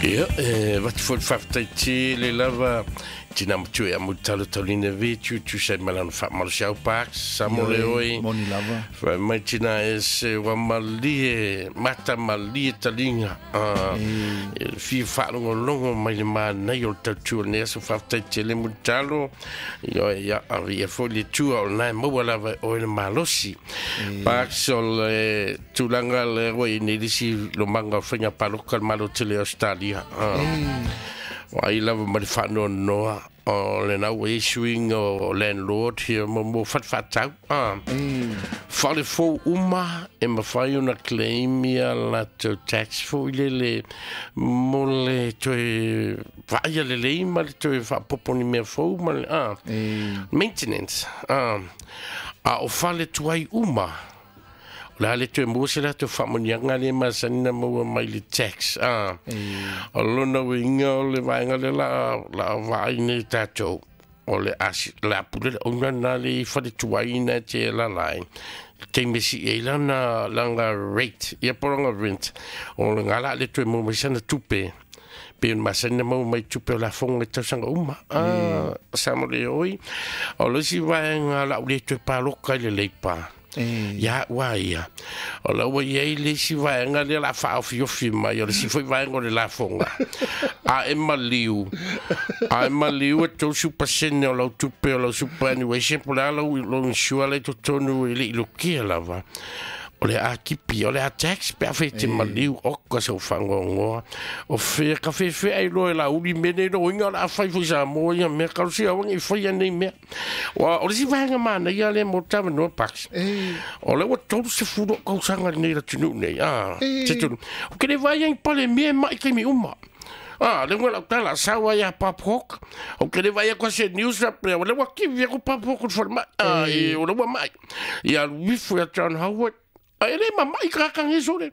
Ia, e avatu foi le faafetai tele lava i tina matua ia Mulitalo Taulina Vitu, tusa ai ma lana faamalosiau Parks, Samo le Ioe, oi. moni lava. Fai mai tina ese ua malie, mata malie taliga. Ah, e fia faalogologo mai le manaia o le tautua o lenei aso. Faafetai tele Mulitalo. Ioe, ia, avia foi le Atua o lena e maua lava e oe le malosi. Parks, o le tulaga lea ua i ai nei le isi lomaga o faiga palota a le Malo tele o Ausetalia. Ua ai lava ma le faanoanoa o lena ua i ai suiga o landlord ia mo fale faatau. Fale fou uma e mafai ona claim ia latou tax foi lele mo le toe vaaia lelei ma le toe faapopo ni mea fou ma le maintenance. A o fale tuai uma, o le a le toe maua se latou faamanuiaga lea e masani ona maua mai le tax. O lona uiga o le vaega lea la a vaai nei tatou, o le a le a pule le owner lena le i fale tuai na e te alaala ai, taimi e sii ai lana rate ia po o lana rent, o lena la a le toe maua mai sana tupe pei ona masani ona maua mai tupe o lafoga i tausaga uma. Sa mo le oi, o le isi vaega la u le toe paloka i le Leipa. Ia ua ia. O la ua i ai le isi vaega lea la faaofiofi mai, o le isi foi vaega o le lafoga. A e maliu, a e maliu e 30% o lau tupe o lau superannuation, po o le a lau insure la i totonu e le i lukia lava. O le a tipi, o le a tax pe a fai e te maliu, oka sau faanoanoa. O fea ka fefe ai loa e lauli mea nei loiga o le a fai foi i Samoa ia mea, talosia aua ne i faia nei mea. Ua, o le isi vaega manaia lea mo le talanoa Parks. O lea ua 30 ou tausaga i lenei atunuu nei, a, se tonu. Ou te le vaai ai i Palemia e mai taimi uma. A, lea ua lau tala sau ai ia Bob Hawke. Ou te le vaai atu se news faapea, o lea ua kivi atu Bob Hawke i le falemai. A, e, o lea ua mai. Ia alu ifo ia John Howard. A e le mamai tagata nei sole.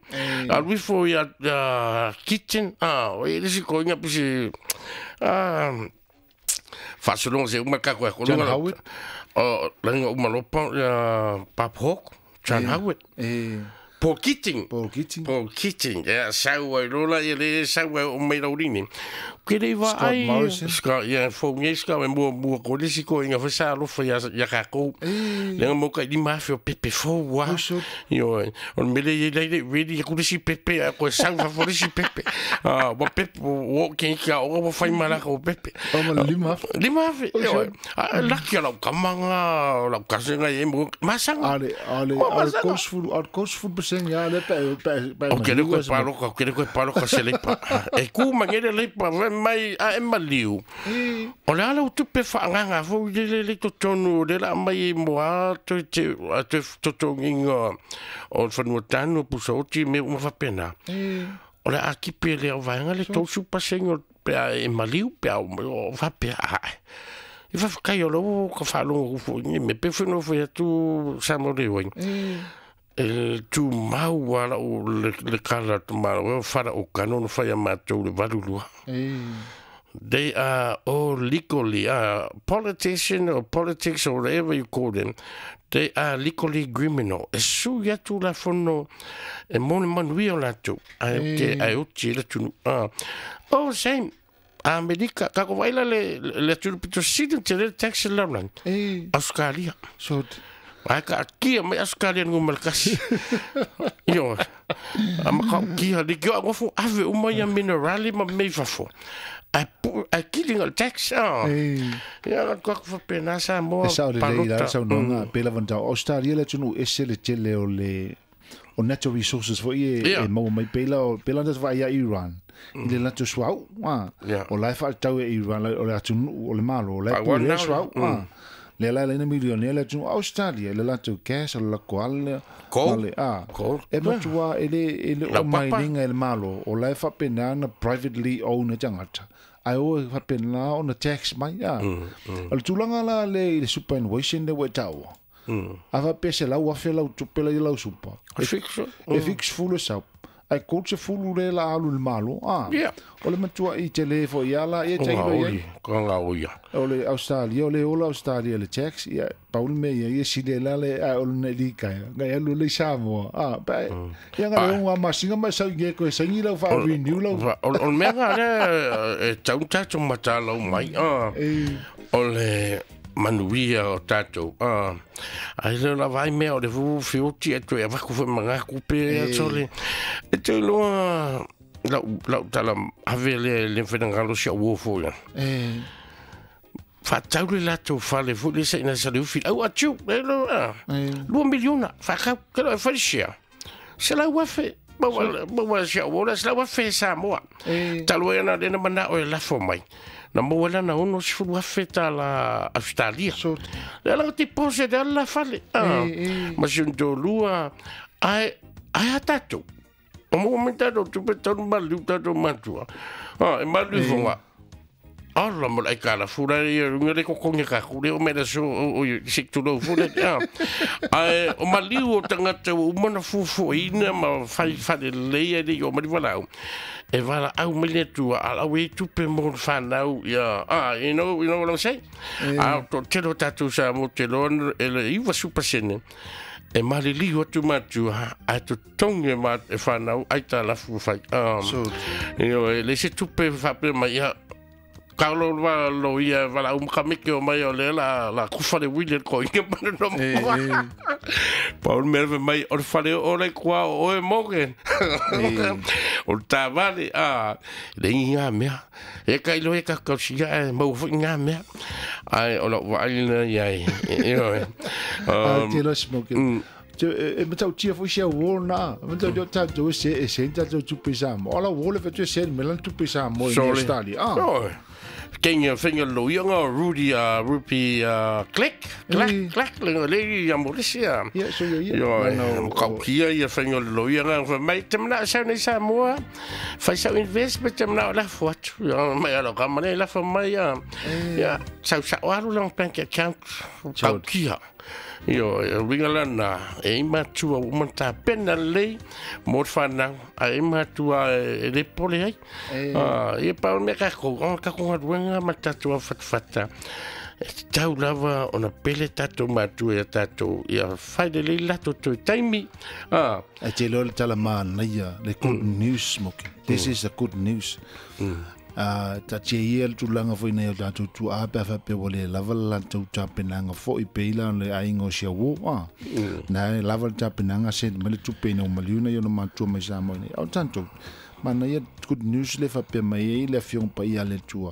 Alu ifo ia Kitchen. A, o e le isi koiga pisi, a, faasologa se uma kako e John Howard? O, laga uma lopa ia Bob Hawke, John Howard. Paul Keating. Paul Keating. Paul Keating. Ia, sau ai lola, ia le sau ai o mai laurini. Ke le va Scott ai. Morrison. Scott, ia, fou nei Scott, e mua mua ko le si ko inga fa alofa ia, ia kākou. Le nga mo ka lima afe o pepe fou wa. Oh, sure. Io, o le mele i lai le ready aku le si pepe, a koe sau fa fo le si pepe. Ah, wa pepe, o ke ka o wa fai malaka o pepe. O ma le lima afe. Lima afe. Oh, Io, sure. a laki o lau kamanga, o lau kasenga i e mo, masanga. Ale, ale, Mo ale masanga. kosfulu, ale kosfulu peseng ya le pe pe pe. O ke le koe paloka, o ke le koe paloka se leipa. E ku mangere leipa, vai mai a e maliu. O le ala o tupe whaanganga fo i le le totonu, o le la mai e moa toe te, a toe totonginga o le whanua tanu, pusa oti me uma whapena. O le a kipe le au vaenga le tausu paseng o pea e maliu, pea o o whapea ae. I whawhakai o lau ka whaalongo kufo i me pe whenua whai atu sa mo le oing. E tu mau ala o le kala tu mau, o whara o kanono whai a mātou le valulua. They are all legally, politician or politics or whatever you call them, they are legally criminal. E su ia tu la fono, e mone manuia o lātou. Ai o te, ai o te la tunu. Oh, same. Amerika, ka ko vaila le tunu pito sinu te le tax laulang. Australia. So, Ai ka kia mai Australia ngu malakasi. Io. A ma ka kia le kia ngofo ave uma ia minerali ma mei fafo. Ai pu ai kilinga le tax. Ah. Ia ka ko fa pena sa mo. E sao le lei la sau nonga pela vanda Australia le tunu ese le tele o le o natural resources fo i e mau mai pela o pela ndas va ia Iran. I le lato suau, ah. O lai fa tau e Iran o le atunu o le malo o lai pu le suau, ah. Le la le milionaire le tunu Australia le lato gas o la koala Coal. le ah. Coal. E matua e le o Lau mai papa. linga e le malo o lai fa pena na privately owned tangata. Ai o fa pena ona tax mai ah. O le tulaga la le i le superannuation le ua taua. A fa pese lau afe lau tupe la i lau supa. E fix. E fix full sau. Ai ko se fulu le la alu le malo o le matua i te le fo ia la ia te ilo ia ko nga o ia o le Australia o le ola Australia le tax ia paul me ia ia sile la le a o le li ka nga ia lu le Samoa pa ia nga le nga masinga ma sa nge ko sa ngi la fa renew la o me nga le e tau tatou matala mai o le manuia o tatou ai le la vai mea o le fu fiuti e toe avaku foi magaku pe atole e te loa lau tala ave le whenangalo si au ofo ia whātau le latou fale fu le sa ina sa le ufi au atiu le loa 2 miliona whakau ke loa e wharisia se lau afe maua si au ola se lau afe Samoa talu e ana lena mana o e lafo mai na maua lana ono sifulu afe ta la Australia. Le ala te pose de ala fale. Ma si un lua ai a tatou. O mo me tatou tu pe tonu malu tatou matua. E malu fonga. Ala mo lai kala fura ia runga le kokonga ka kure o mera so o sik tu lo fura. Ai o maliu o tangata o mana fufu ina ma fai fale leia le o mali walau. E wala au mele tua ala we tupe mo whanau ia you know what I'm saying a to telo tatu sa mo te lon e le iwa super sene e malili o tu matua a to tonge ma e whanau ai ta lafu fai you know le se tupe fa pe mai ia Carlo lo ia wala kamike o mai o le la kufa le wile ko inge mana no Paul merve mai o fale o le kwa o e moge o tavale a le inga mea e kai lo e ka kausia e mau fo inga mea ai o la waina ia you know te lo smoke e matau tia fo sia wona matau yo ta do se e senta to tu pesa mo ala wole fe tu sen melan tu pesa mo in Australia Kenya finger lo yonga Rudy Rupi click clack clack le ya Malaysia yeah so yeah yo kaukia ia finger lo yonga fa mai temna sa nei Samoa fa sa investment temna la fo mai ala ka mai la fo mai ya sa sa waru lang bank account kaukia yo ringalana e matua o mata pena lei mo whanau a e matua e le pole ai e pa o mea kako kako ngaruenga ma tatua fatfata e tau lava ona pele tatou matua ia tatou ia whaile lei lato toi taimi e te lole tala mānaia le good news smoking this is the good news ta te ia le tulaga foi nei o tatou tuaa pe a faapea ua lē lava le latou tapenaga foʻi peila le aiga o siauō na e lava le tapenaga sent mai le tupe ina ua maliu nei ona matua mai Samoa nei o tatou manaia good news le faapea mai ai le afioga paia a le Atua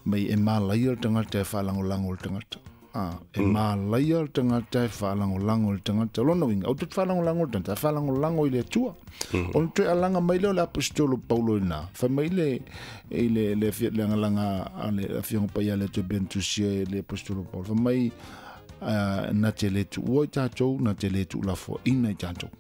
mai e malaia le tagata e faalagolago le tagata e malaia le tagata e faalagolago le tagata lona uiga ou te faalagolago le tagata e faalagolago i le Atua ona toe alaga mai lea o le aposetolo Paulo ina fai mai le i le le lagalaga a le afioga paia a le Atua Bentusia e le aposetolo Paulo fai mai na te le tuua i tatou na te le tuulafoaina i tatou.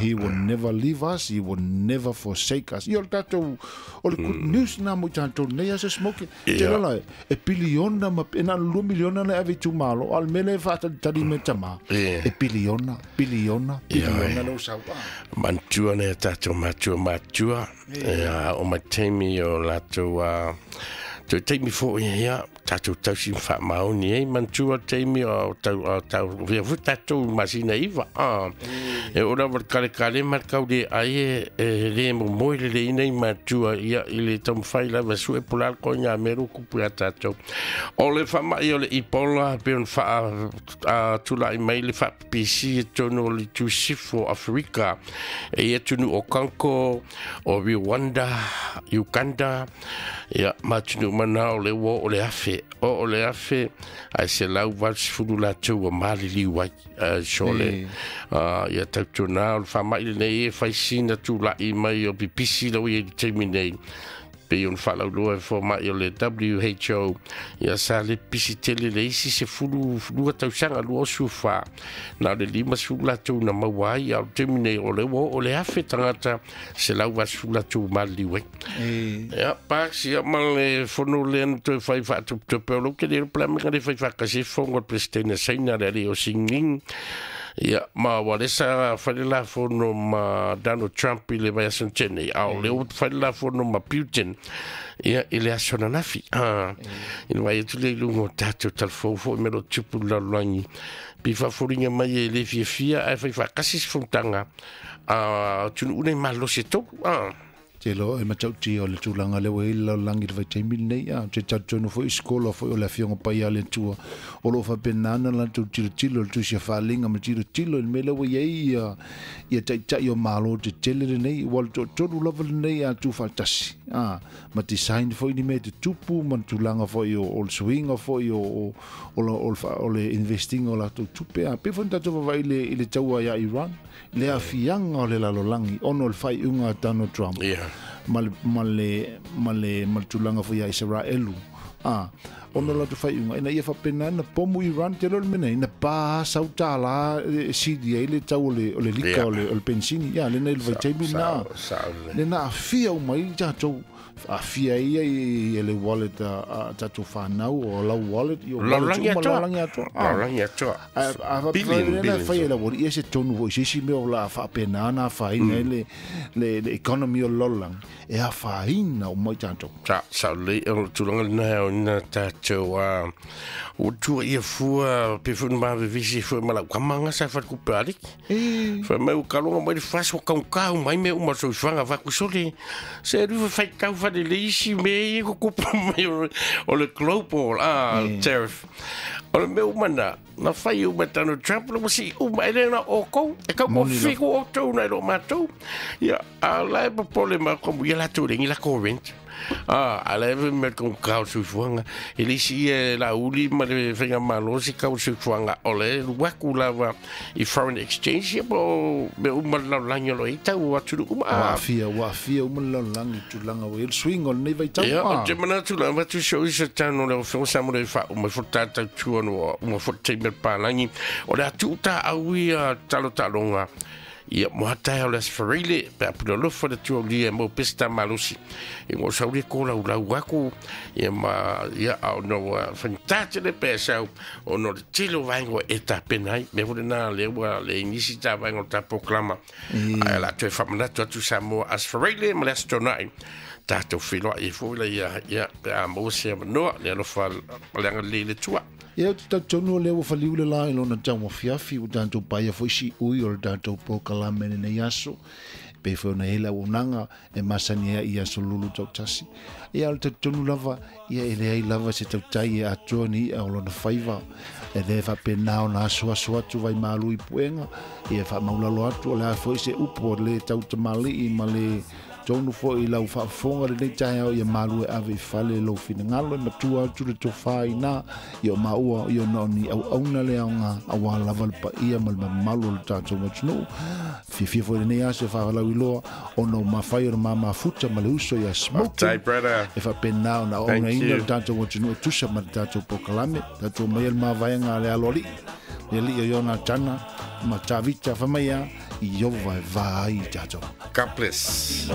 He will never leave us, he will never forsake us. Ia o le tatou o le good news na mo i tatou nei asa smoke te lala e piliona ma e na 2 miliona na ave tu malo al mele fa tali me tama e piliona piliona piliona lo sau mantua ne tatou matua o matemi o latou te taimi fo ia tatou tausi whaamaoni e mantua taimi o tau via fu tatou masina iwa e ora wa kare kare markau le ai e le mo moi le ina i matua ia i le tamwhai lava su e pulal ko ngā meru kupu a tatou o le whamai o le ipola pe on wha tulai mai le whapipisi e tono o le tusifo Afrika e ia tunu o Kanko o Rwanda Uganda ia matunu mana o le wo o le afe o le afe ai se lau vals fulu la tua mali li wai sole ia tautona o le whamai nei e whaisina tūlai mai o pipisi lau i te nei pe on whalauloa e whamai o le WHO ia sa le pisi tele le isi se fulu lua tausanga lua sufa na le lima sula tou na maua ai au te nei o le wo o le afe tangata se lau vals fulu la tua mali wai ia pa si ia ma le fono le toe whai whaatuputupe o lo ke le plamega le whai whakase fongo presidente saina le ale o singing Ia, ma ua le sa fai le lafono ma Donald Trump i le vaiaso na tea nei, a o lea ua fai le lafono ma Putin, ia, i le aso ananafi. I le vaai atu lea i luga o tatou talafou foi me lo tupu i le lalolagi, pei faafoliga mai e le fiafia ae fai faatasi se fonotaga a atunuu nei malolosi e tolu. Te loa e matautia o le tulaga lea ua i ai le lalolagi i le vaitaimi lenei, a te talitonu foi i sikola foi o le Afioga Paia a le Atua, o lo o faapena ona latou tilotilo i le Tusi a Faaaliga ma tilotilo i le mea lea ua i ai ia, ia taitai o Malo tetele lenei, ua le toatolu lava lenei a tuufaatasi, a, ma design foi ni mea e tutupu ma le tulaga foi o, o le suiga foi o, o, o, o, o le investing o latou tupe, a, pei foi ona tatou vaavaai i le, i le taua ia Iran, le aafiaga o le lalolagi ona o le faaiuga a Donald Trump ma le, ma le, ma le, ma le tulaga foi ia Isaraelu, a, ona o latou faaiuga, ina ia faapena ona pomu Iran, te iloa le mea nei, na pa sau tālā e sili ai le tau o le, o le lika o le, o le penisini, ia, lena i le vaitaimi lena, lena aafia uma ai tatou. Aafia ai ia i le wallet a tatou fanau, o lau wallet, i o wallet uma, lalolagi atoa. Lalolagi atoa. A faapena fai e lau alii, e se tonu foi se isi mea o le a faapena ona afaina ai le, le, le economy o le lalolagi, e afaina uma i tatou. Sa, sao lelei, o le tulaga lena e aoina tatou, a, ua tuuaia fua, pei foi ona ma vevesi foi ma lau tama ga sa faletupe o Aleki. Fai mai ua kaloga mai le fasi ua taugata uma ai mea uma o le soifuaga avatu sole. Se alu ifo faitau faalelei isi mea ia tutupu mai o le global tariff. O le mea uma na, na fai uma e Donald Trump, ua sii uma, e le na o outou, e tau toafitu outou nai lo matou. Ia, a o la e popole mai komu, ia latou e leai ni latou rent. A la e fai mai le taugata o le soifuaga. E le isi ia e Laauli ma le faigamalo se tau o le soifuaga, o la e alu atu lava i foreign exchange ia po o mea uma le lalolagi o lo o i ai tau o atunuu uma. Ua aafia, ua aafia uma le lalolagi i tulaga ua i ai le suiga o lenei vaitau. Ia, ou te manatu la, avatu si ou isa tano le afioga sa mo le faauma ifo le tātau tua no ua uma foi le taimi o le palagi. O le a tuu tāau ia talo taaloga Ia, mo hatae o le Aso Faraile, pe a pule alofa le Atua ulia e mau pea se tā malosi. Ia, ua sau le kōlaulau aku, ia ma, ia, a ona ua faigata tele pe a sau, ona o le tele o vaega ua e tapena ai. Mea foi lena lea ua leai nisi tā vaega o le tā polokalama. Ae o le a toe faamanatu atu Samoa Aso Faraile ma le Aso Toonai. Tatou feiloai ai foi laia, ia, pe a maua se avanoa, le alofa ma le agalelei o le Atua. Ia, ou te talitonu o lea ua faliu le la i lona tauafiafi, ua tatou paia foi siui o le tatou polokalame i lenei aso, e pei foi ona i ai le auaunaga e masani ai i aso lulu tautasi. Ia, o le talitonu lava, ia e leai lava se tautai e atoa ni i'a o lona faiva, e le faapena ona asuasu atu vaimalu i puega, ia faamaulalo atu o le a foi se upu o le tau tamalii ma le Tonu foi i lau faafofoga lenei taeao ia malu e ave i fale lou finagalo e matua atu le tofa ina ia o maua ia ona o ni auauna le aoga aua lava le paia ma le mamalu o le tatou atunuu. Fiafia foi lenei aso e faalauiloa ona o mafai ona ma mafuta ma le uso ia Smoking Faafetai brother. e faapena ona Thank auaunaina you. le tatou atunuu e tusa ma le tatou polokalame. Tatou omai le mavaega a le aloalii, le alii o Ionatana ma Tavita fai mai a Iova e va ai i tatou. God bless.